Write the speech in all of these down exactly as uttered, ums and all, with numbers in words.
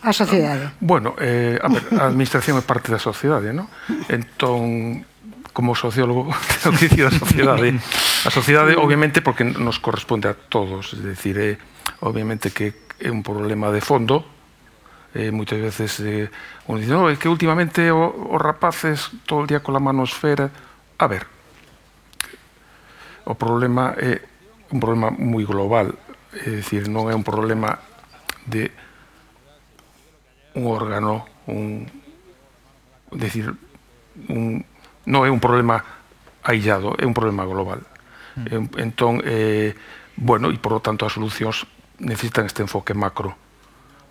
A sociedade. Bueno, eh, a ver, a administración é parte da sociedade, non? Entón, como sociólogo, tengo que dicir a sociedade. A sociedade, obviamente, porque nos corresponde a todos. É dicir, é, obviamente, que é un problema de fondo. Eh, moitas veces, eh, uno dice, no, é que últimamente o, os rapaces todo o día con a manosfera. A ver, o problema é un problema moi global. É dicir, non é un problema de un órgano, un, decir, un, non é un problema aillado, é un problema global. Mm. Entón, eh, bueno, e por lo tanto as solucións necesitan este enfoque macro.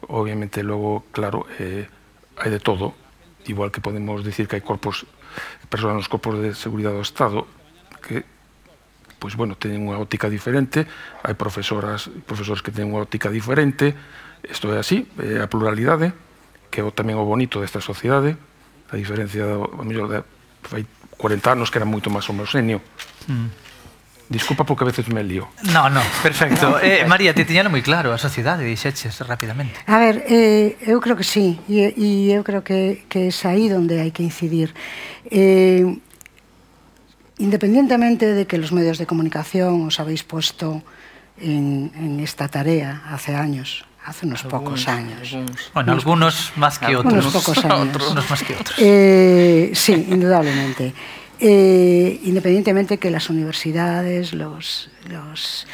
Obviamente, logo, claro, eh, hai de todo, igual que podemos dicir que hai corpos, persoas nos corpos de seguridade do Estado que, pois, bueno, teñen unha óptica diferente, hai profesoras, profesores que teñen unha óptica diferente, isto é así, é a pluralidade, que é tamén o bonito desta sociedade, a diferencia, a mellor, de fai cuarenta anos que era moito máis homoxéneo. Mm. Disculpa porque a veces me lío. No, no, perfecto. eh, María, te tiñano moi claro a sociedade, dixeches rapidamente. A ver, eh, eu creo que sí, e, e eu creo que, que é aí onde hai que incidir. Eh, independientemente de que los medios de comunicación os habéis puesto en, en esta tarea hace años, hace unos algunos, pocos años. Algunos. Bueno, algunos más que otros. Unos pocos años. Unos más que otros. Eh, sí, indudablemente. Eh, independientemente que las universidades, los, los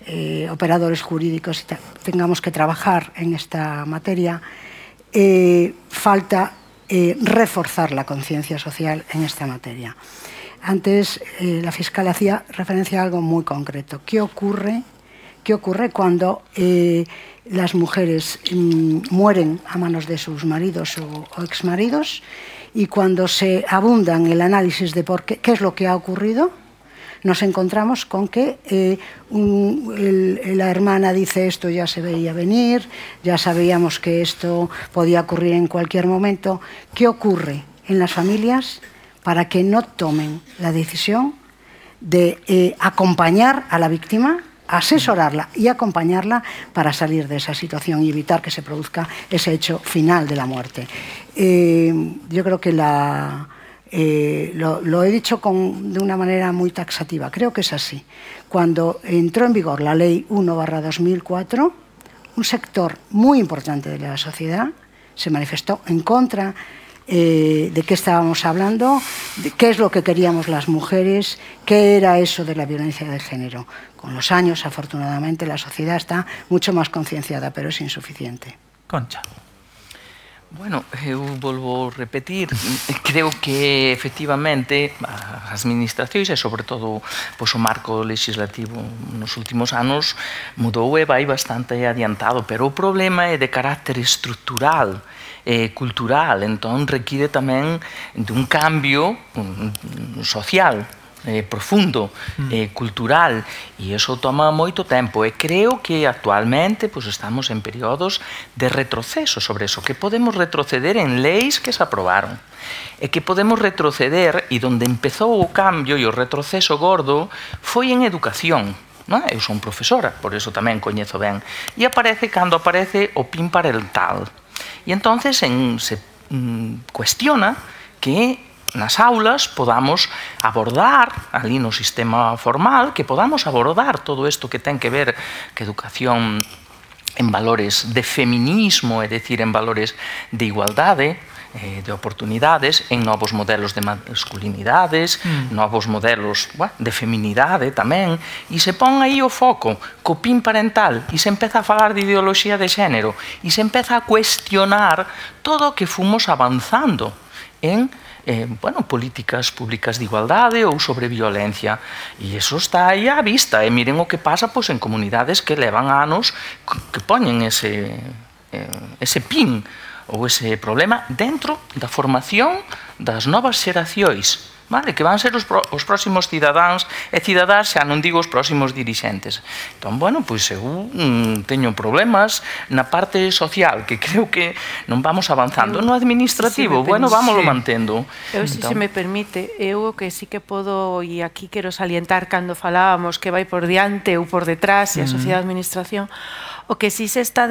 eh, operadores jurídicos tengamos que trabajar en esta materia, eh, falta eh, reforzar la conciencia social en esta materia. Antes eh, la fiscal hacía referencia a algo muy concreto. ¿Qué ocurre, qué ocurre cuando eh, las mujeres mmm, mueren a manos de sus maridos o, o exmaridos? Y cuando se abunda en el análisis de por qué, qué es lo que ha ocurrido, nos encontramos con que eh, un, el, la hermana dice esto ya se veía venir, ya sabíamos que esto podía ocurrir en cualquier momento. ¿Qué ocurre en las familias para que no tomen la decisión de eh, acompañar a la víctima, asesorarla y acompañarla para salir de esa situación y evitar que se produzca ese hecho final de la muerte? Eh, yo creo que la, eh, lo, lo he dicho con, de una manera muy taxativa, creo que es así. Cuando entró en vigor la ley uno barra dos mil cuatro, un sector muy importante de la sociedad se manifestó en contra eh, de qué estábamos hablando, de qué es lo que queríamos las mujeres, qué era eso de la violencia de género. Con los años, afortunadamente, la sociedad está mucho más concienciada, pero es insuficiente. Concha. Bueno, eu volvo a repetir, creo que efectivamente as administracións e sobre todo pois, o marco legislativo nos últimos anos mudou e vai bastante adiantado, pero o problema é de carácter estructural e cultural, entón require tamén de un cambio social Eh, profundo, eh, cultural, e iso toma moito tempo, e creo que actualmente pues, estamos en períodos de retroceso sobre eso, que podemos retroceder en leis que se aprobaron, e que podemos retroceder, e donde empezou o cambio e o retroceso gordo foi en educación. Non? Eu son profesora, por eso tamén coñezo ben, e aparece cando aparece o PIN parental, e entonces en, se mm, cuestiona que nas aulas podamos abordar ali no sistema formal, que podamos abordar todo isto que ten que ver que educación en valores de feminismo, é dicir, en valores de igualdade, eh, de oportunidades, en novos modelos de masculinidades, mm. novos modelos bueno, de feminidade tamén, e se pon aí o foco co PIN parental e se empeza a falar de ideoloxía de xénero e se empeza a cuestionar todo o que fomos avanzando en Eh, bueno, políticas públicas de igualdade ou sobre violencia, e iso está aí á vista, e miren o que pasa pois, en comunidades que levan anos que poñen ese, eh, ese PIN ou ese problema dentro da formación das novas xeracións, vale? Que van ser os, pro, os próximos cidadáns e cidadás, xa non digo os próximos dirixentes. Entón, bueno, pois eu mm, teño problemas na parte social, que creo que non vamos avanzando. No administrativo, si bueno, vámoslo sí. mantendo. Eu, se entón... se me permite, eu o que sí que podo, e aquí quero salientar cando falábamos que vai por diante ou por detrás, e a sociedade de administración, O que sí se está